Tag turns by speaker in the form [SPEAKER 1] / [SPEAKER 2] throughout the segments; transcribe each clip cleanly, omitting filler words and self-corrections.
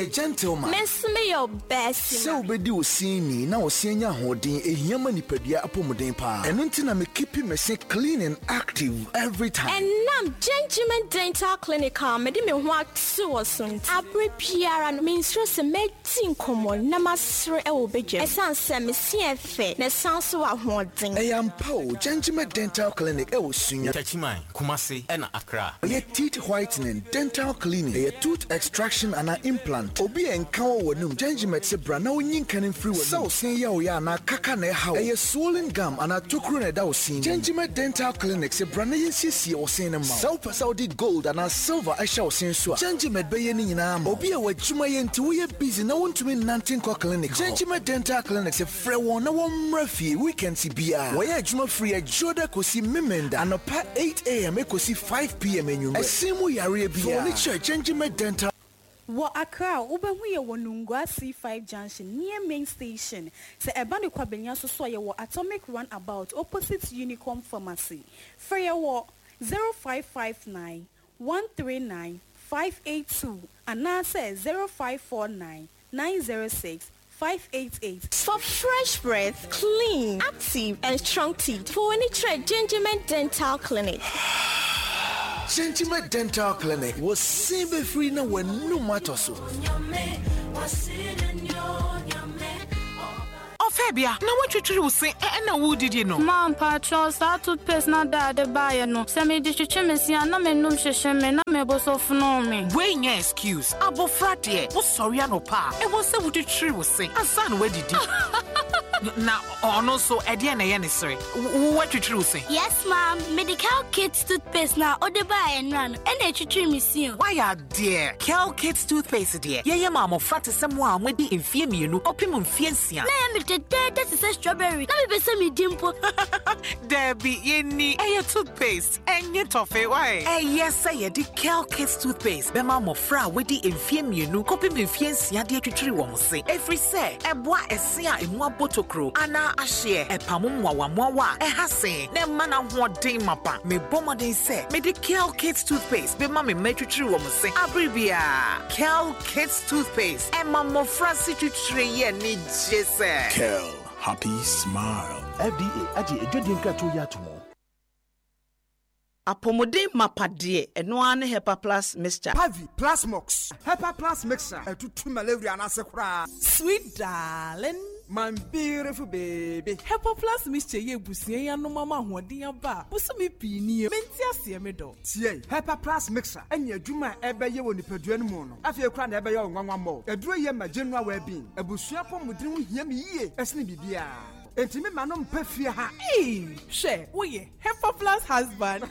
[SPEAKER 1] Meyɛ gentleman.
[SPEAKER 2] Me nso meyɛ ɔbaa
[SPEAKER 1] Sɛ wobɛdi wo se ni na wo se anya ahoɔden ɛhia ma nipadua apɔmuden paa. Ɛno nti na me keepi me se clean and active every time.
[SPEAKER 2] Ɛnam Gentleman Dental Clinic a mede me ho ato wɔ so nti, abere biara no mensuro sɛ mɛdi nkɔmmɔ na masere wɔ badwam ɛsiane sɛ me se yɛ fɛ na ɛsan nso wɔ ahoɔden.
[SPEAKER 1] Ɛyɛ ampa o, Gentleman Dental Clinic ɛwɔ Sunya.
[SPEAKER 3] Techiman, Kumasi ɛna Accra.
[SPEAKER 1] Ɛyɛ teeth whitening, dental cleaning, ɛyɛ tooth extraction anaa implant. Obi a nka wɔ w'anum, Gengimet se bra na wonyi nka no mfiri w'anum. Sɛ wo se yɛ wo ya anaa kaka na ɛha wo, ɛyɛ swollen gum anaa tokuro na ɛda wo se no mu, Gengimet Dental Clinic se bra na yɛnsiesie wo se no mma wo. Sɛ wopɛ sɛ wode gold anaa silver hyɛ wo se so a, Gengimet bɛyɛ ne nyinaa ama wo. Obi a w'adwuma yɛ nti woyɛ busy na wontumi nnante nkɔ clinic hɔ, Gengimet Dental Clinic se frɛ wɔn na wɔmmra fie weekends biara. Wɔyɛ adwuma firi Adwoda kɔsi Memenda anɔpa 8am kɔsi 5pm anwummerɛ. Ɛse mu yareɛ biara, fa w'ani kyerɛ Gengimet Dental.
[SPEAKER 4] Wɔ Accra a, wobɛhu yɛ wɔ Nungua C5 Junction near main station. Sɛ ɛba ne Kwabenya so so a, yɛwɔ Atomic Runabout opposite Unicom Pharmacy. Frɛ yɛ wɔ 0559 139 582 anaasɛ 0549 906 588.
[SPEAKER 2] For fresh breath, clean, active and strong teeth, fa w'ani kyerɛ Gingerman Dental Clinic.
[SPEAKER 1] Gingerman Dental Clinic, wɔ se bɛfiri na w'anum atɔ so.
[SPEAKER 5] Ɔfɛbea, na woatwitwiri wo se ɛna woredidi no?
[SPEAKER 6] Ma mpakyɛw, saa toothpaste na da ade baeɛ no, sɛ mede twitwi me se a, na m'anum hyehye me na me bo so fono me.
[SPEAKER 5] Wei nyɛ excuse. Abofra deɛ, wosɔre anɔpa a, ɛwɔ sɛ wotwitwiri wo se ansa na woadidi. Na ɔno nso, ɛdeɛn na ɛyɛ ne sere? Woatwitwiri wo se?
[SPEAKER 7] Yes, mom. Mede Kel Kids toothpaste na ɔde baeɛ nnora no, ɛna ɛtwitwiri me se o.
[SPEAKER 5] Woayɛ adeɛ. Kel Kids toothpaste deɛ, yɛyɛ ma mmɔfra te sɛ mo a moadi mfeɛ 2 kɔpem mfeɛ 6.
[SPEAKER 7] Na ɛyɛ me dɛdɛɛdɛ te sɛ strawberry. Na mepɛ sɛ medi mpo.
[SPEAKER 5] Dabi, yɛnni. Ɛyɛ toothpaste, ɛnyɛ tɔfe. Why? Ɛyɛ sɛ yɛde Kel Kids toothpaste bɛma mmɔfra a wɔadi mfeɛ 2 kɔpem mfeɛ 6 de atwitwiri wɔn se, ɛfiri sɛ ɛboa ɛse a emu abɔ tokuro anaa ahyeɛ, ɛpamo mmoawammoawa a ɛha se, na ɛma no ahoɔden mapa. Mebɔ mmɔden sɛ mede Kel Kids toothpaste bɛma me mma atwitwiri wɔn se abere biara. Kel Kids toothpaste, ɛma mmɔfra se twitwiri yɛ anigye sɛ.
[SPEAKER 8] Kel, happy smile.
[SPEAKER 9] FDA agye adwadie nkratoɔ yi ato mu.
[SPEAKER 10] Apɔmuden mapa deɛ, ɛno ara ne Hepa Plus Mixture.
[SPEAKER 11] Pavi, Plasmox, Hepa Plus Mixture, ɛtutu malaria no ase koraa.
[SPEAKER 12] Sweet darling.
[SPEAKER 11] My beautiful baby.
[SPEAKER 12] Hepa Plus Mixture yi abusua yi anom ama ahoɔden aba a bosome pii nie. Mente aseɛ me dɔ.
[SPEAKER 11] Tie, Hepa Plus Mixture ɛne adwuma a ɛbɛyɛ wɔ nipadua no mu no, afei koraa na ɛbɛyɛ wo nwanwa mmɔ. Aduro yi ma general well-being. Abusua apɔmuden ho hia me yie ɛsene biribiara. Enti me ma no mpɛ fie ha.
[SPEAKER 12] Eii hwɛ woyɛ Hepa Plus husband.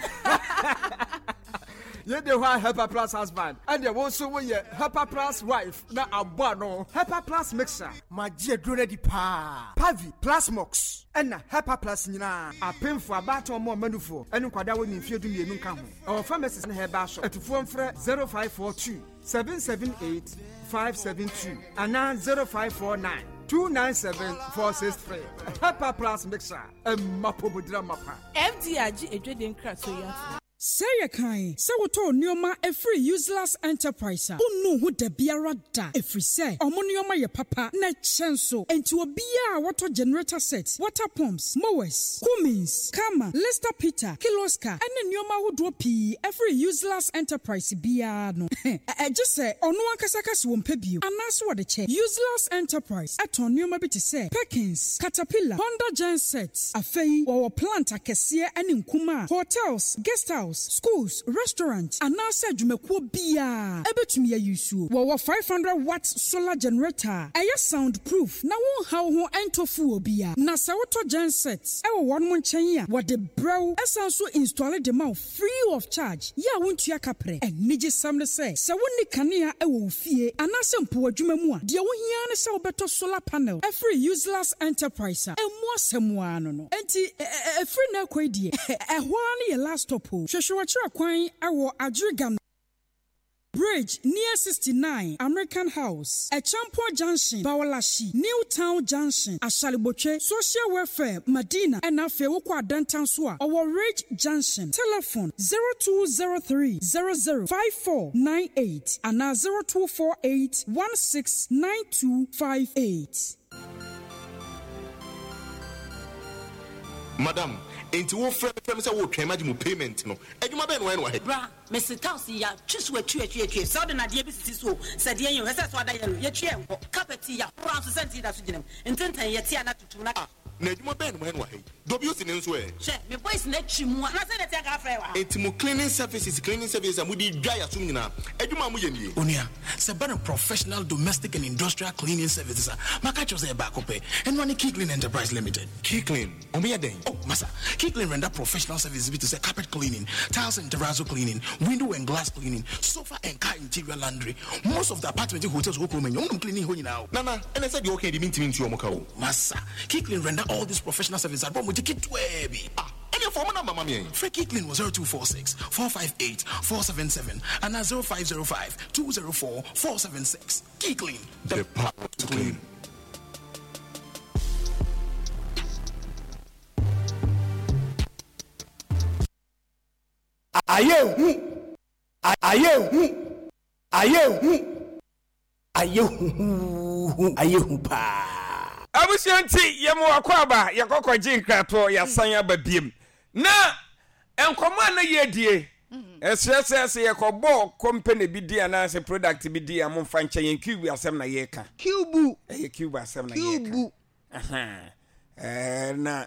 [SPEAKER 11] Yɛ de hɔ a Hepa Plus husband ɛdeɛ wo nso woyɛ Hepa Plus wife na abɔ ano. Hepa Plus mixer. Magye aduro no adi paa. Pavi, Plasmox ɛna Hepa Plus nyinaa. Apemfoɔ, abaatan ɔmo ɔma nufoɔ ɛne nkwadaa a wɔnni mfeɛ 12 nka ho. Ɛwɔ pharmacies ne herbal shop. Atufoɔ mfrɛ 0542 778 572 anaa 0549 297 463. Hepa Plus mixer ɛmma pomodira mapa.
[SPEAKER 12] FDA agye adwadie nkratoɔ yi atom.
[SPEAKER 13] Sɛ yɛ kan sɛ wotɔɔ nnoɔma firi Useless Enterprise a, wonnuu ho dabiara da ɛfiri sɛ wɔn nnoɔma yɛ papa na ɛkyɛ nso. Enti obiara a wɔtɔ generator set, water pumps, mowers, Cummins, Karma, Lister Peter, Kirloskar ne nnoɔma ahodoɔ pii firi Useless Enterprise biara no, gye sɛ ɔno ankasa ka sɛ ɔmpɛ bio anaasɛ ɔde kyɛ. Useless Enterprise tɔn nnoɔma bi te sɛ Perkins, Caterpillar, Honda Gen Set. Afei, wɔwɔ plant akɛseɛ ne nkumaa, hotels, guest house, schools, restaurant, anaasɛ adwumakuo biara bɛtumi ayi nsuo. Wɔwɔ 500 watt solar generator a ɛyɛ sound proof na wonha wo ho ntɔ fuel biara. Na sɛ wotɔ gen set wɔ wɔnom nkyɛn a, wɔde brɛ wo san nso installe de ma wo free of charge yɛ a wontua kaprɛ. Anigyesɛm ne sɛ, sɛ wonni kanea wɔ wo fie anaasɛ mpo w'adwuma mu a, deɛ wohia ara ne sɛ wobɛtɔ solar panel afiri Useless Enterprise a ɛmmu asɛm ara no no. Enti ɛfiri nnɛ rekɔ yi deɛ, ɛhɔ ara ne yɛ last stop o. Hwehwɛ w'akyira kwan wɔ Adjiriganor. Bridge near 69 American House, Acheampong Junction, Bawaleshie, New Town Junction, Ashaley Botwe, Social Welfare, Madina, ɛna afei wokɔ Adenta nso a, ɔwɔ Ridge Junction. Telephone, 0203 00 5498 anaa 0248 169258.
[SPEAKER 14] Madam, enti wo frɛ me sɛ wo retwɛn magye mo payment no, adwuma bɛn na wayɛ no wɔ ha yi?
[SPEAKER 15] Bra, mese tiles yi yɛatwe so atwi atwi atwi, sɛ wode nnadeɛ bi sisi so o, sɛ deɛn o, ɛsɛ sɛ ada yellow, yɛtwi a ɛnkɔ, carpet yi yɛahoro ara nso sɛ nti da so gyina mu, ntentan yi yɛte a na tutu na.
[SPEAKER 14] Ah, na adwuma bɛn na moayɛ no wɔ ha yi? WC no nso ɛ?
[SPEAKER 15] Hwɛ, me boys no atwi mu a. Na sɛdeɛ ɛteɛ anka afrɛ wɔ ha.
[SPEAKER 14] Enti mo cleaning services, cleaning services a mode dwa yɛn asom nyinaa, adwuma a moyɛ nie?
[SPEAKER 9] Onua, sɛ ɛba no professional domestic and industrial cleaning services a, maka akyerɛ wo sɛ ɛyɛ baako pɛ. Ɛno ara ne Key Clean Enterprise Limited.
[SPEAKER 14] Key Clean, wɔyɛ dɛn?
[SPEAKER 9] Oh, masa, Key Clean render professional services bi te sɛ carpet cleaning, tiles and terrazzo cleaning, window and glass cleaning, sofa and car interior laundry. Most of the apartment ne hotels wɔ kurom ha nyinaa, wɔnom cleaning hɔ nyinaa o.
[SPEAKER 14] Nana, ɛnɛ sɛ deɛ woka yi deɛ mentumi ntua wɔn ka o.
[SPEAKER 9] Oh, masa, Key Clean render all these professional services at wɔn gye ketewaa bi.
[SPEAKER 14] Ah, ɛneɛ fa wɔn number ma me ɛ.
[SPEAKER 9] Frɛ Key Clean wɔ 0246 458 477 anaa 0505 204 476. Key Clean,
[SPEAKER 14] the power to clean.
[SPEAKER 16] Ayɛ hu, ayɛ hu, ayɛ hu, ayɛ huhuuhu, ayɛ hu paa.
[SPEAKER 17] Abusua nti yɛma wakɔ aba yɛkɔ kɔgye nkratoɔ yɛasan aba biem na nkɔmmɔ a na yɛdie ɛsrɛ sɛ sɛ yɛkɔbɔ company bi din anaasɛ product bi din a momfa nkyɛ yɛn cube asɛm na yɛka
[SPEAKER 10] cube
[SPEAKER 17] ɛyɛ cube asɛm na yɛka
[SPEAKER 10] cube
[SPEAKER 17] Ɛɛ na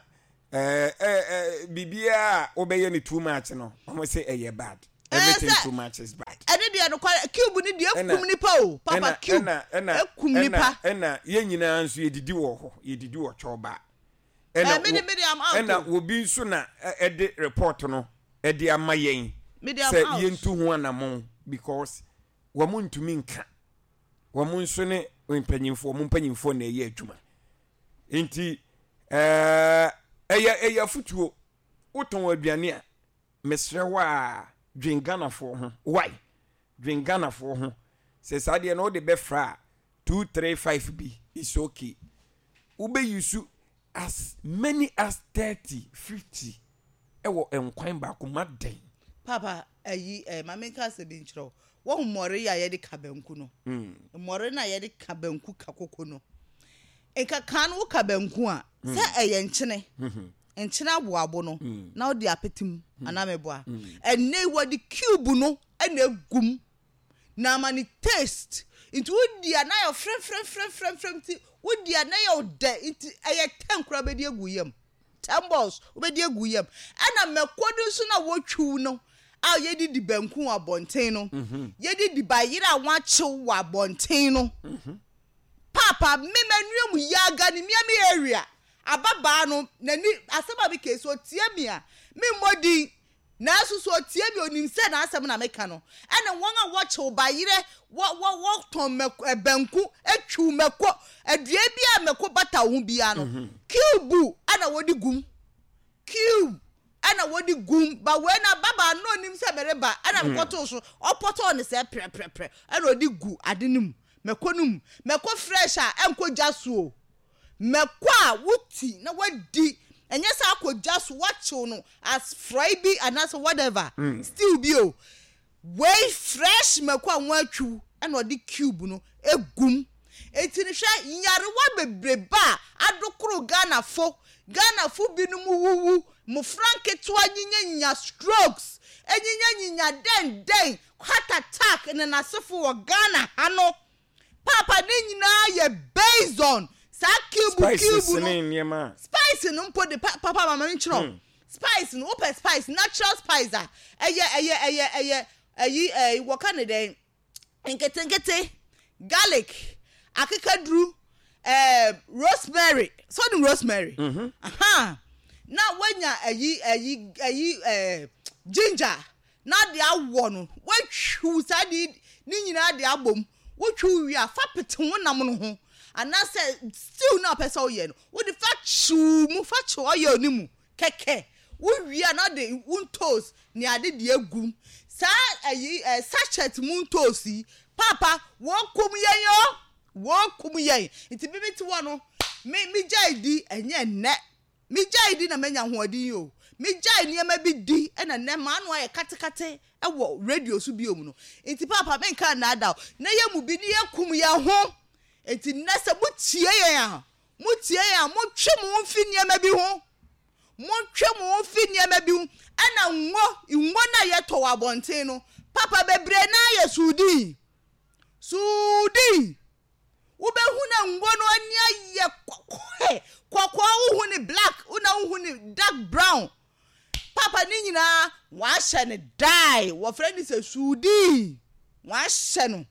[SPEAKER 17] ɛɛ ɛɛ biribiara a wobɛyɛ no too much no, wɔn sɛ ɛyɛ bad. Everything too much is bad.
[SPEAKER 10] Ɛne deɛ nokware cube ne deɛ ekum nipa o papa cube ekum nipa.
[SPEAKER 17] Ɛna yɛn nyinaa nso yɛdidi wɔ hɔ yɛdidi wɔ twɔba. Ɛna ɛna obi nso na ɛde report no ɛde ama yɛn sɛ yɛntu ho anamɔn because wɔn ntumi nka. Wɔn nso ne mpanyinfoɔ, wɔn mpanyinfoɔ na ɛyɛ adwuma. Nti ɛɛ ɛyɛ ɛyɛ afutuo. Wotɔn aduane a, mesrɛ wo a dwen Ghanafoɔ ho. Why? Dwen Ghanafoɔ ho. Sɛ saa deɛ no wode bɛfra a, 2, 3, 5 bi is okay. Wobɛ use as many as 30, 50 ɛwɔ nkwan baako mu adɛn?
[SPEAKER 10] Papa, ayi eh, ma menka asɛm bi nkyerɛ wo. Woahu mmɔre yi a yɛde ka banku no? Mmɔre no a yɛde ka banku ka koko no. Nka kan no woka banku a, sɛ ɛyɛ nkyene, nkyene aboabo no, na wode apete mu anaa meboa. Ɛnnɛ yi wɔde cube no na egu mu na ama ne taste. Nti wodi a na ayɛ frɛmfrɛmfrɛmfrɛm nti wodi a na ɛyɛ wo dɛ nti ɛyɛ tɛn koraa bɛdi agu yam. Ten balls wobɛdi agu yam. Ɛna mako no nso na wɔtwiw no a yɛde di banku wɔ abɔnten no. Yɛde di bayerɛ a wɔakyew wɔ abɔnten no. Paapa me manua mu yaga ne mia me area. Ababaa no n'ani asɛm a meka yi sɛ ɔtie me a memmɔ din Nanso sɛ ɔtie me, ɔnim sɛ n'asɛm na meka no. Ɛne wɔn a wɔkyew bayerɛ, wɔ, wɔ, wɔtɔn mako, ɛ, banku, twiw mako, aduan bi a mako bata ho biara no, mhm. cube ɛna wɔde gum. Cube ɛna wɔde gum. Ba wei na baba no onim sɛ mereba ɛna mm. mekɔtoo so, ɔpɔtɔɔ ne sɛ prɛprɛprɛ ɛna ɔde gu ade no mu, mako no mu. Mako fresh a ɛnkɔ gya so o. Mako a woti na wadi ɛnyɛ sɛ akɔ gya so wakyew no as frɔe bi anaasɛ whatever stew bi o wei fresh mako a wɔatwiw ɛna ɔde cube no egum eti no hwɛ nyarewa bebrebe a adokoro Ghanafo Ghanafo binom wuwu mmofra nketewa nyinyanyinya strokes enyinya dɛn dɛn heart attack ne n'asefo wɔ Ghana ha no. Paapa ne nyinaa yɛ based on saa cube
[SPEAKER 17] Spices
[SPEAKER 10] cube no.
[SPEAKER 17] ne nneɛma a.
[SPEAKER 10] Spice no mpo de pa papa ma me nkyerɛ wo. Spice no wopɛ spice natural spice a ɛyɛ ɛyɛ ɛyɛ ɛyɛ ɛyi ɛyi wɔka ne dɛn nketenkete garlic akekaduru ɛɛ rosemary so nim rosemary. Aha na woanya ɛyi ɛyi ɛyi ɛɛ ginger na de awɔ no, woatwiw saa de ne nyinaa de abom. Wotwiw wie a, fa pete wo nam no ho anaasɛ stew no a wopɛ sɛ woyɛ no, wode fa kyew mu, fa kyew oil no mu kɛkɛ. Wowie a na wode wo ntoos ne ade de agu mu. Saa ayi eh, sachet mu ntoosi yi, paapa, wɔkum yɛn o, wɔkum yɛn. Nti me mete hɔ no, me megyae di, ɛnyɛ nnɛ. Megyae di na manya ahoɔden yi o. Megyae nneɛma bi di na nnɛ m'ano ayɛ katekate wɔ radio so biom no. Nti paapa menka nnaadaa o, na yɛn mu bi ne yɛkum yɛn ho. Nti nnɛ sɛ motie yɛn a, motie yɛn a, montwe mo ho mfi nneɛma bi ho. Montwe mo ho mfi nneɛma bi ho. Ɛna ngo, ngo no a yɛtɔ wɔ abɔnten no, papa bebree no ara yɛ suudii. Suudii! Wobɛhu na ngo no ani ayɛ kɔkɔɔ, kɔkɔɔ wohu ne black, wona wohu ne dark brown. Papa ne nyinaa wɔahyɛ no dye, wɔfrɛ no sɛ suudii. Wɔahyɛ no.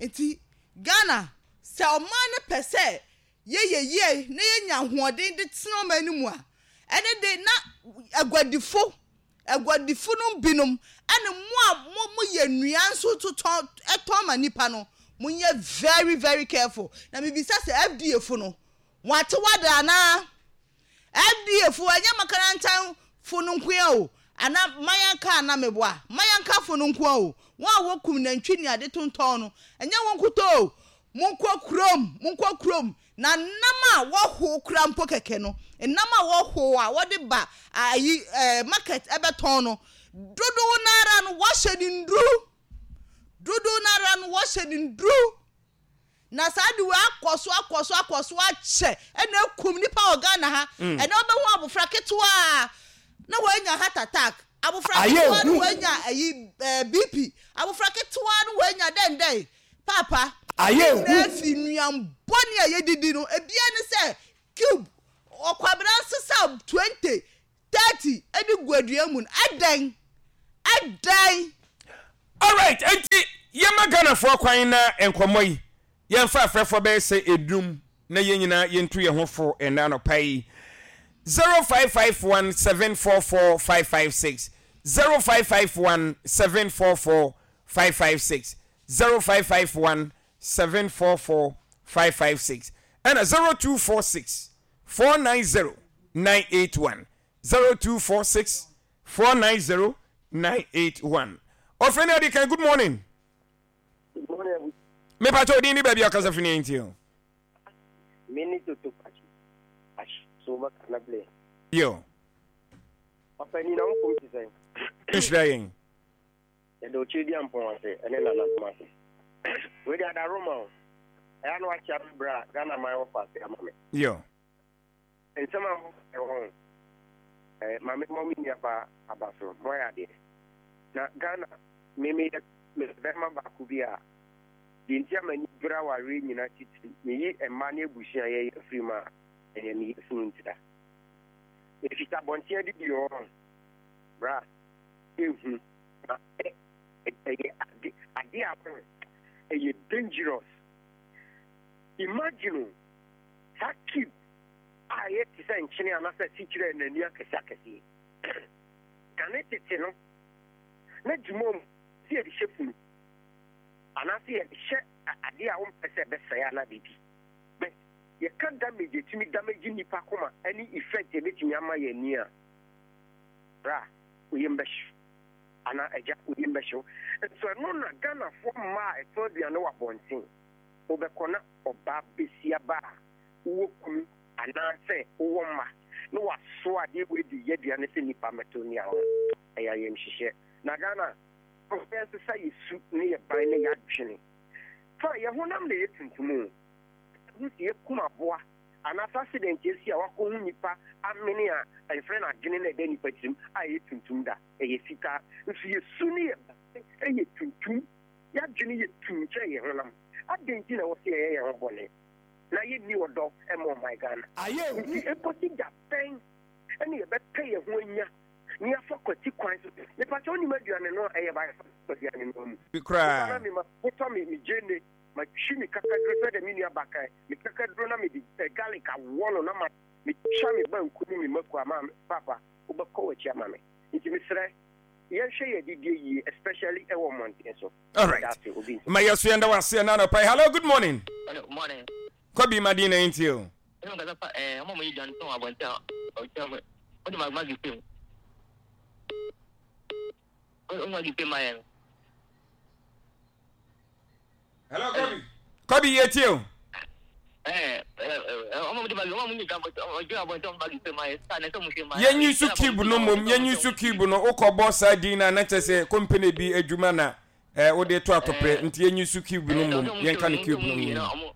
[SPEAKER 10] Nti Ghana, sɛ ɔman no pɛ sɛ yɛyɛ yie na yɛnya ahoɔden de tena ɔman no mu a, ɛne de na aguadifo, aguadifo no binom ɛne mo a mo moyɛ nnua nso totɔn tɔn ma nnipa no, monyɛ very very careful. Na mebisa sɛ FDA fo no, wɔate wade anaa? FDA fo, ɛnyɛ makarantan fo no nko ara o, ana mayanka ana meboa, mayanka fo no nko ara o, wɔn a wɔkum nantwi ne ade tontɔn no, ɛnyɛ wɔn nkutoo o, monkɔ kurom, monkɔ kurom, na nam a wɔhow koraa mpo kɛkɛ no, nam a wɔhow a wɔde ba ayi ɛɛ market ɛbɛtɔn no, dodow no ara no wɔahyɛ no nnuru, dodow no ara no wɔahyɛ no nnuru. Na saa ade wei akɔ so akɔ so akɔ so akyɛ ɛna akum nipa wɔ Ghana ha. Mm. Ɛnɛ wobɛhu abofra ketewa na wanya heart attack. Abofra ketewa na wanya ayi eh, BP. Abofra ketewa na wanya dɛn dɛn. Papa,
[SPEAKER 16] Ayɛ
[SPEAKER 10] na afi nnuan bɔne a yɛdidi no, ebia ne sɛ cube ɔkwabena nsesa 20 30 de gu aduan mu no, adɛn? Adɛn?
[SPEAKER 17] Alright, enti yɛma Ghanafoɔ kwan na nkɔmmɔ yi yɛmfa afrɛfoɔ bɛyɛ sɛ enum na yɛn nyinaa yɛntu yɛn ho fo ɛnnɛ anɔpa yi. 0551 744 556 0551 744 556 0551 744 556 ɛna 0246 490 981 0246 490 981 Ɔfrɛ ni adi kan good morning.
[SPEAKER 18] Good morning.
[SPEAKER 17] Me pa cho din ni baabi akasa fi ni nti o.
[SPEAKER 18] Me ni Toto Pachi. Ash so ba kana ble.
[SPEAKER 17] Yo.
[SPEAKER 18] Papa ni na wo pom ti sɛn.
[SPEAKER 17] Nhyira yɛn.
[SPEAKER 18] Yɛda Okyediampɔn ase ne nananom ase. Wei deɛ adaroma o. Ɛyɛ a na wakyea me berɛ a Ghana man wɔ faase ama me.
[SPEAKER 17] Yo.
[SPEAKER 18] Nsɛm a mokaeɛ wɔ ho eh, ma me mmɔ me nua baa aba so. Moayɛ adeɛ. Na Ghana, me meyɛ meyɛ bɛrima baako bi a, deɛ nti a m'ani bere awareɛ nyina titiri, meyi mma ne abusua a yɛyɛ firi mu a, ɛyɛ me yafunu ntira. Ɛfiri sɛ abɔnten adidie wɔ hɔ, bra, ehu. Na ɛyɛ ade ade a ɛyɛ dangerous. Imagine o, saa cube a ɛyɛ te sɛ nkyene anaasɛ asikyire a n'ani akɛse akɛse. Kane tete no, na dwuma mu sɛ yɛde hyɛ funu anaasɛ yɛde hyɛ ade a wompɛ sɛ ɛbɛsɛe anaa biribi. But yɛka damage ɛtumi damage nnipa koma ne effect ɛbɛtumi ama yɛn ani a, bra, wo yam bɛhye anaa agya wo yam bɛhye wo. Nso ɛno na Ghanafoɔ mmaa a ɛtɔn aduane wɔ abɔnten, wobɛkɔ na ɔbaa bɛsia ba a wowɔ kunu anaa sɛ wowɔ mma na wasoa adeɛ wei de yɛ aduane sɛ nnipa mmɛtɔ nni ho. Ɛyɛ ayamhyehyeɛ. Na Ghana, momma yɛnsesa yɛ su ne yɛ ban ne yɛ adwene. Fine, yɛ honam na ɛyɛ tuntum o. Yɛhu sɛ yɛkum aboa Anaasɛ accident asi a wakɔhu nipa amene a yɛfrɛ no adwene no a ɛda nipa tirim a ɛyɛ tuntum da, ɛyɛ fitaa. Nso yɛ su ne yɛ ban yɛ tuntum, yɛadwene yɛ tumm kyɛn yɛn honam. Adɛn nti na ɛwɔ sɛ yɛyɛ yɛn ho bɔne na yɛnni ɔdɔ mma ɔman Ghana? Nti ɛkɔsi da bɛn na yɛbɛpɛ yɛn ho anya na yɛafa kwati kwan so? Mepakyɛ wonim aduane no a ɛyɛ ba yɛfa aduane no mu.
[SPEAKER 17] Koraa.
[SPEAKER 18] Mepa na mema motɔ me me gyeene Matwi me kakaduro sɛdeɛ me nua ba kae, me kakaduro na mede garlic awɔ no na ma metwa me banku ne me mako ama me papa wobɛkɔ w'akyi ama me. Nti mesrɛ yɛnhwɛ yɛn adidie yie especially ɛwɔ mmɔnten so.
[SPEAKER 17] Alright.
[SPEAKER 18] Meda ase obi nti.
[SPEAKER 17] Ma yɛ so yɛn da wase ɛna anɔpa yi. Hello, good morning.
[SPEAKER 19] Hello, good morning.
[SPEAKER 17] Kwabi Madina nti o.
[SPEAKER 19] Ɛna nkasa fa ɛɛ ɔmo a ɔmo yɛ dwan tɔn abɔnten a ɔkyerɛ mo ɔde ma magi fam.
[SPEAKER 17] Hello, Kobi. Kobi, yɛ tie o. Yɛnyi so cube no mmom, yɛnyi so cube no, wokɔbɔ saa din no a na kyerɛ sɛ company bi adwuma na eh, wode to atɔprɛ, nti yɛnyi so cube no mmom, yɛnka no cube no mmom.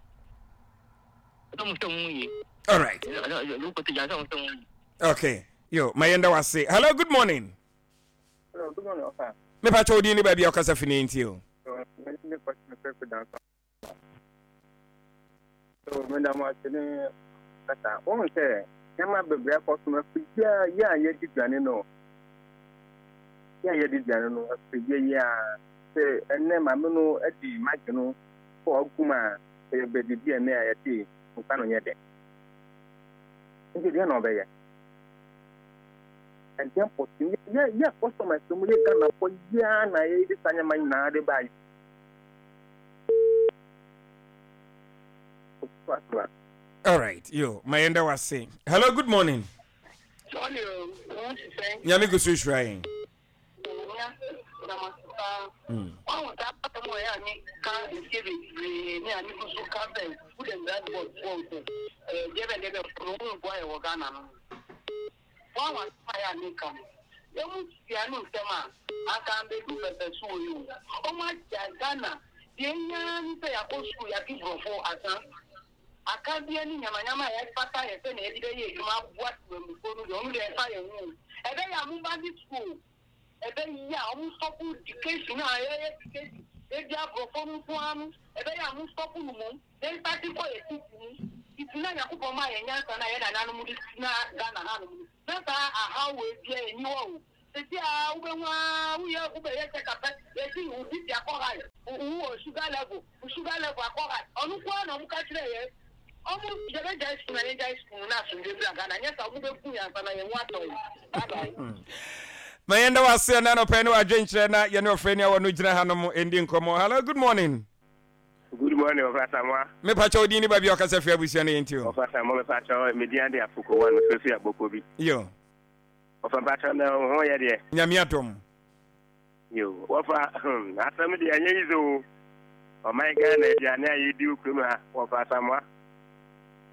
[SPEAKER 17] All right. Okay. Yo, ma yɛnda wase. Hello, good morning.
[SPEAKER 19] Hello, good morning, Ofa.
[SPEAKER 17] Me pa kyɛw din ne baabi a ɔkasa fi ne nti o.
[SPEAKER 19] So me da mo ase ne kasa. Wɔn sɛ nneɛma bebree akɔ so no afidie a yɛ a yɛdi duane no yɛ a yɛdi duane no afidie yi a sɛ ɛnɛ maame no adi magye no kɔ agum a sɛ yɛbɛdidi ɛnɛ a yɛte nkwa no nyɛ dɛ nti deɛ na ɔbɛyɛ ɛdeɛ mpɔte yɛ yɛ customers mu yɛ Ghanafoɔ yɛ na yɛde saa nneɛma nyinaa de ba yi.
[SPEAKER 17] All right, yo, ma yɛn da wase. Hello, good morning. Nyame gu so hyira yɛn.
[SPEAKER 19] Wɔn a wɔayɛ a meka no, wɔn tia no ntɛm a, anka ambedu pɛpɛsoɔ yi o. Wɔn atia Ghana, deɛ ehia ara ne sɛ yɛakɔ sukuu, yɛate borɔfo asa. Akadeɛ ne nyamanyama a ɛfata yɛ sɛnea yɛde bɛyɛ adwuma aboa temamufoɔ no deɛ, wɔn deɛ ɛmfa yɛn ho o. Ɛbɛyɛ a momma ne sukuu o. Ɛbɛyɛ a wɔn stop education a yɛyɛ education, yɛdi aborɔfo no nko ara no, ɛbɛyɛ a mo stop no mmom. Yɛn starte kɔ yɛ titi mu titi na Nyankopɔn maa yɛn nyansa no a yɛn nananom de tena Ghana hanom no na saa ahaw wei biaa nni hɔ o. Sɛsi aa wobɛhu aa woyɛ wobɛyɛ check up pɛ yɛse wo BP akɔ high, wo wɔ sugar level, wo sugar level akɔ high. Ɔno nko ara na ɔmo ka kyerɛɛ yɛn. Ɔmo yɛbɛgyae sukuu na yɛngyae sukuu no na asomdwoe bra Ghana nyɛ saa ɔmo bɛku yɛn ansa na yɛn ho atɔ yɛn. Bye bye.
[SPEAKER 17] Ma yɛnda wo ase ɛna anɔpa yi ne w'adwenkyerɛ na yɛne ɔfrɛni a wɔno gyina hanom ndi nkɔmmɔ. Hello, good morning.
[SPEAKER 20] Good morning Ɔfa Asamoah.
[SPEAKER 17] Me pakyɛ wo din ne baabi a ɔkasa firi abusua no yɛ nti o.
[SPEAKER 20] Ɔfa Asamoah me pakyɛ me din ade Afoko one me firi Aboko bi.
[SPEAKER 17] Yo.
[SPEAKER 20] Ɔfa mpakyɛ na wo ho yɛ deɛ.
[SPEAKER 17] Nyame adom.
[SPEAKER 20] Yo wɔfa hmm asɛm deɛ ɛnyɛ yize o. Ɔman Ghana aduane a yɛdi wɔ kurom ha wɔfa Asamoah.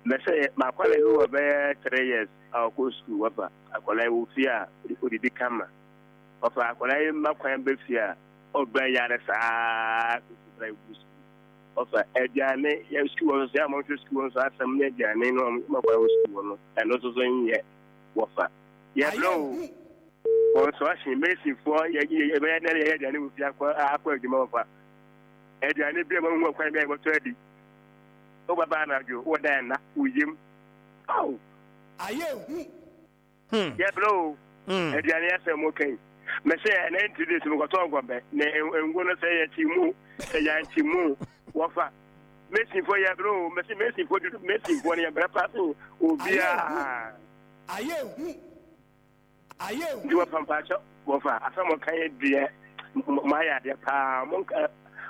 [SPEAKER 20] Mɛsɛ m'akwadaa bi wɔ bɛyɛ 3 years a ɔkɔ sukuu wɔfa akwadaa yi wɔ fie a odidi kama. Wɔfa akwadaa yi mma kwan bɛ fie a Ɔba yare saa kosi bere a ebu sukuu. Ɔfa aduane yɛ sukuu hɔ nso sɛ wɔhwɛ sukuu hɔ nso asɛm ne aduane no wɔn ma kwan wɔ sukuu hɔ no ɛno nso so nyɛ wɔfa. Yɛbrɛ o construction masonfoɔ yɛ yɛ yɛbɛyɛ dɛ yɛyɛ aduane wɔ fie akɔ akɔ adwuma wɔfa aduane bi a wɔn ho kwan bi a yɛbɛtɔ adi. Wobɛba anadwo wɔ dan na woyam. Aw.
[SPEAKER 16] Ayɛ hu.
[SPEAKER 20] Hmm. Yɛbrɛ o. Hmm. Aduane asɛm mo kan. Mɛsɛ ɛnɛ nti de sɛ mekɔtɔ nkɔbɛ na ngo no sɛ yɛkyi mu sɛ yɛankyi mu wɔfa. Mesinfoɔ yɛbrɛ o. Mɛsɛ mesinfoɔ dudu mesinfoɔ no yɛbrɛ paa sen obiara.
[SPEAKER 16] Ayɛ hu. Ayɛ hu.
[SPEAKER 20] Nti wɔfa mpakyɛ wɔfa asɛm mo kan deɛ mo ayɛ adeɛ paa mo nka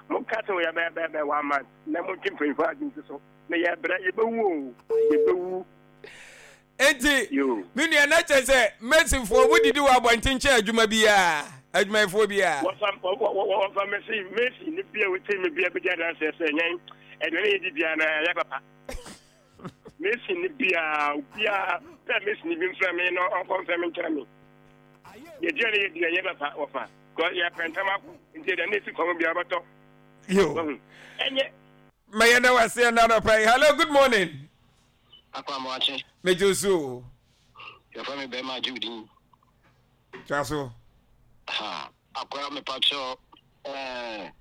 [SPEAKER 20] mo nka sɛ wɔyɛ bɛyɛ bɛyɛ bɛyɛ one month na mo ntwe mpanyinfoɔ adwene ti so na yɛbrɛ yɛbɛwu o yɛbɛwu.
[SPEAKER 17] Enti, me nua, na kyerɛ sɛ Masonfoɔ mo didi wɔ abɔnten kyɛn adwuma biara, adwumayɛfoɔ biara.
[SPEAKER 20] Wɔfa wɔfa mesi mesi ne bia wotie me bia bɛdi adanseɛ sɛ yɛn aduane yɛdi biara na ɛyɛ papa. Mesi ne bia obiara pɛ mesi ne bi mfrɛ me na ɔnkɔ mfrɛ me nkyerɛ me. Yɛduane yɛdi ɛyɛ papa wɔfa kɔ yɛpɛ ntɛm akɔ nti aduane esi kɔn biara bɛtɔ.
[SPEAKER 17] Yo.
[SPEAKER 20] Ɛnyɛ.
[SPEAKER 17] Mɛyɛ na waseɛ na anɔpa yi. Hello, good morning.
[SPEAKER 19] Akɔ Amoakye.
[SPEAKER 17] Megye wo so o.
[SPEAKER 19] Yɛfrɛ me bɛrima agye wo din.
[SPEAKER 17] Toa so.
[SPEAKER 19] Ha, akora mepakyɛ ɛɛ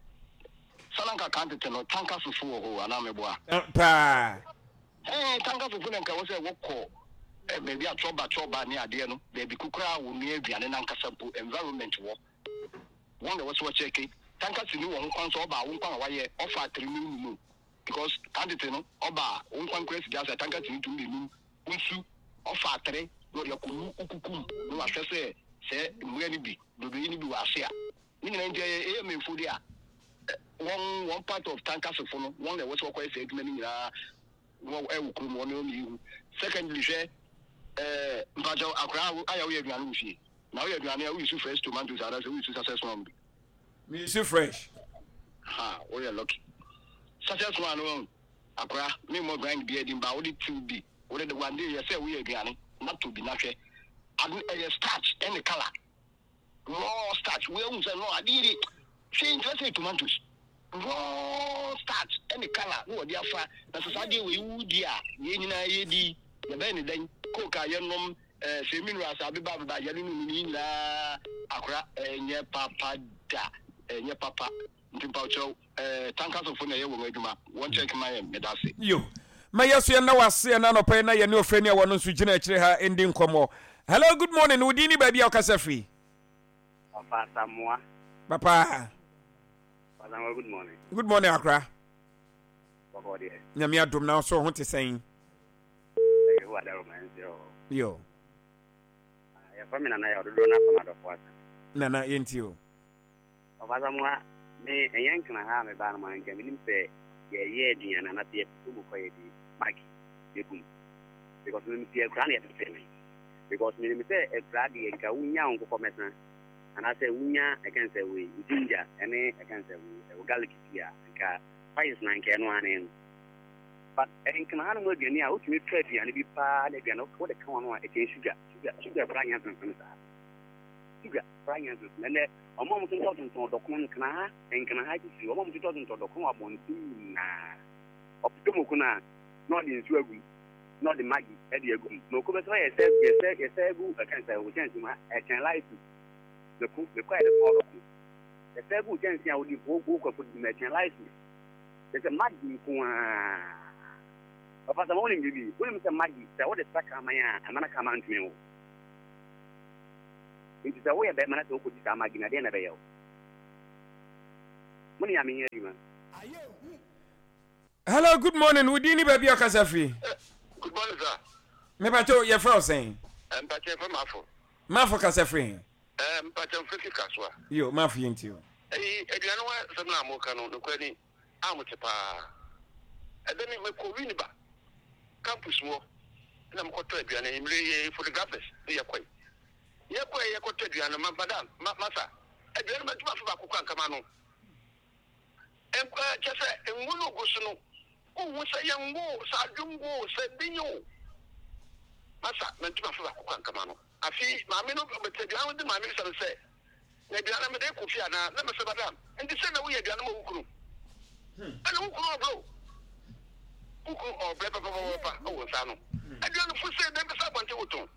[SPEAKER 19] sananka kan tete no tanka fufu wɔ hɔ anaa meboa?
[SPEAKER 17] Paa.
[SPEAKER 19] Ɛɛ tanka fufu na nka wɔ sɛ wokɔ baabi a chɔba chɔba ne adeɛ no baabi kokora a wɔnua aduane no ankasa mpo environment wɔ wɔn na ɛwɔ sɛ wɔkyɛke tanka sini wɔ ho kwan sɛ ɔba a wo nkwan a wayɛ ɔfa atere mu num Because kan tete no ɔba a wo nkwan koraa si gya ase a tanka tumi tum bɛnum wo nsu ɔfa atere na ɔde akɔnu wo kukum na wahwɛ sɛ sɛ mmoa no bi dodoe no bi wɔ ase a ne nyinaa nti ɛyɛ AMA fo de a wɔn wɔn part of tankasefo no wɔn na ɛwɔ sɛ wɔkɔyɛ saa adwuma no nyinaa wɔ ɛwɔ kurom wɔn na wɔn yi hu secondly hwɛ ɛɛ mpakyɛw akwaraa ayɛ woyɛ aduane wɔ fie. Na woyɛ aduane a, wo use fresh tomatoes anaasɛ wo use sachet one bi?
[SPEAKER 17] Me use fresh.
[SPEAKER 19] Ha, woyɛ lucky. Sachet one no wahu, akora, me mmɔ brand biara din ba wode tew bi, wode de one day yɛ sɛ woyɛ aduane na tɔ bi na hwɛ. Ade ɛyɛ starch ɛne colour. Raw starch, wei ahu sɛ no ade yi de, hwɛ nkyerɛ sɛ tomatoes. Raw starch ɛne colour na wɔde afa, na sɛ saa adeɛ wei wodi a, yɛn nyinaa yɛdi, yɛbɛyɛ ne dɛn? Coke a yɛnom, Eh sɛ minerals abeba abeba yɛne no no nyinaa akora ɛnyɛ papa da ɛnyɛ papa nti mpawokyɛw eh tankasofo na ɛyɛ wɔn adwuma wɔn check ma yɛn medase.
[SPEAKER 17] Yo. Ma yɛ so yɛnna wo ase ɛna anɔpa yi na yɛne ɔfrɛni a wɔno nso gyina akyire ha ndi nkɔmmɔ. Hello, good morning. Wo din ne baabi a wokasa firi?
[SPEAKER 21] Papa Asamoah.
[SPEAKER 17] Papa.
[SPEAKER 21] Papa Asamoah, good morning.
[SPEAKER 17] Good morning, Akra.
[SPEAKER 21] Bɔkɔ deɛ.
[SPEAKER 17] Nyame adom na so ho te sɛn?
[SPEAKER 21] Yehowa dawuroma nhyira wo.
[SPEAKER 17] Yo.
[SPEAKER 21] Ah, yɛfrɛ me Nana Yaw dodoɔ no afam adɔfo asa.
[SPEAKER 17] Nana, yɛntie o.
[SPEAKER 21] Papa Asamoah, me ɛnyɛ nkena ha a mebaa no ma nka menim sɛ yɛyɛ aduane anaasɛ yɛtoto mu kɔ yɛde maki yɛgu mu. Because menim sɛ akura na yɛtete me. Because menim sɛ akura deɛ nka wonya wo nkokɔ mɛsa anaasɛ wonya ɛka sɛ wei ginger ɛne ɛka sɛ wei ɛwɔ garlic bi a nka spices na nka ɛno ane no. But nkena hanom aduane a wotumi tɔ aduane bi paa na aduane wode ka wɔn a ɛkyɛn sugar sugar sugar koraa nyɛ nsonson saa sugar koraa nyɛ nsonson ɛnɛ wɔn a wɔtontɔn tontɔn dɔkono nkena ha nkena ha titiri wɔn a wɔtontɔn tontɔn dɔkono wɔ abɔnten nyinaa ɔpɛ moko no a na ɔde nsuo agu mu na ɔde magi ɛde agu mu moko bɛsɛ yɛsɛ yɛsɛ yɛsɛ agu ɛkyɛn sɛ wɔ kyɛnse mu ɛkyɛn light mako mako a yɛde tɔn dɔkono yɛsɛ agu kyɛnse a wode wokɔ kɔ di mu ɛkyɛn light Kyerɛ sɛ Maggi nko ara. Papa Sama wonim biribi? Wonim sɛ Maggi sɛ wode sra kraman a ɛma na kraman ntumi nwo? Nti sɛ woyɛ bɛrima na sɛ wokɔdi saa Maggi no a deɛn na ɛbɛyɛ wo? Mo ne Nyame nyɛ adwuma.
[SPEAKER 17] Hello, good morning. Wo din ne baabi a ɔkasa firi?
[SPEAKER 19] Good morning, sir.
[SPEAKER 17] Mepakyɛw, yɛfrɛ wo sɛn?
[SPEAKER 19] Mpakyɛ yɛfrɛ Mafo.
[SPEAKER 17] Mafo kasa firi he?
[SPEAKER 19] Mpakyɛ mfrɛ fi Kasoa.
[SPEAKER 17] Yo, Mafo yɛntie o.
[SPEAKER 19] Eyi, aduane ho asɛm no a moreka no, nokorɛ ni, a mote paa. Ɛda bi, mekɔɔ Winneba campus mu hɔ na mekɔtɔ aduane. Anwummere yi, yɛyɛ photographers ne yɛkɔe. Yɛkɔe yɛkɔtɔ aduane no, ma, madam, ma, masa, aduane no mantumi amfa baako koraa ankama no. Nkwa, kyerɛ sɛ, ngo no gu so no, wonhu sɛ ɛyɛ ngo o, sɛ adwo ngo o, sɛ binyo o. Masa, mantumi amfa baako koraa ankama no. Afei maame no, mete aduane ho de maame bisa no sɛ, Na aduane no mede rekɔ fie anaa? Na mese, Madam, nti sɛn na woyɛ aduane ma wo kunu? Ɛna wo kunu ɔbrɛ o. Wo kunu ɔbrɛ papapapa wɔ nsa ano. Aduane fo sɛ dɛn bɛsɛ abɔnten wotɔn.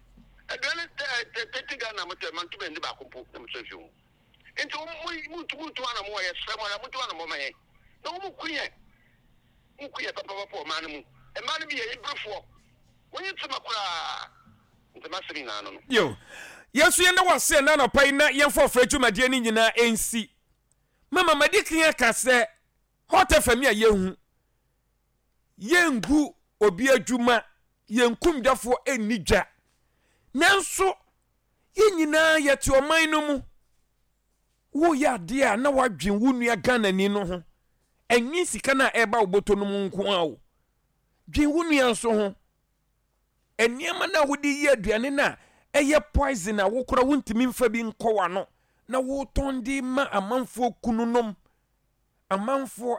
[SPEAKER 19] Aduane tɛtɛtɛti Ghana motɛ mantumi anni baako mpo na mesɛ fi ho. Nti muntu muntu anamɔ a yɛsrɛ mo ara muntu anamɔ ma yɛn. Na wɔn ku yɛn. Wɔn ku yɛn papapapa wɔ ɔman no mu. Mmaa no bi yɛ eberefoɔ. Wɔnyi tema koraa. Nti m'asɛm nyinaa no no.
[SPEAKER 17] Yo, yɛn nso yɛnda wo ase ɛnnɛ anɔpa yi na yɛmfa ɔfrɛ dwumadie no nyinaa nsi. Mama madi kan aka sɛ Hot FM a yɛhu, yɛngu obi adwuma, yɛnkum dwafoɔ nni dwa. Nanso yɛn nyinaa yɛte ɔman no mu. Woyɛ adeɛ a na woadwen wo nua Ghanani no ho. Ɛnwen sika no a ɛreba wo bɔtɔ no mu nko ara o. Dwen wo nua nso ho. Nneɛma no a wode yi aduane no a ɛyɛ poison a wokora wontumi mfa bi nkɔ w'ano na wotɔn de ma amanfoɔ kununom, amanfoɔ.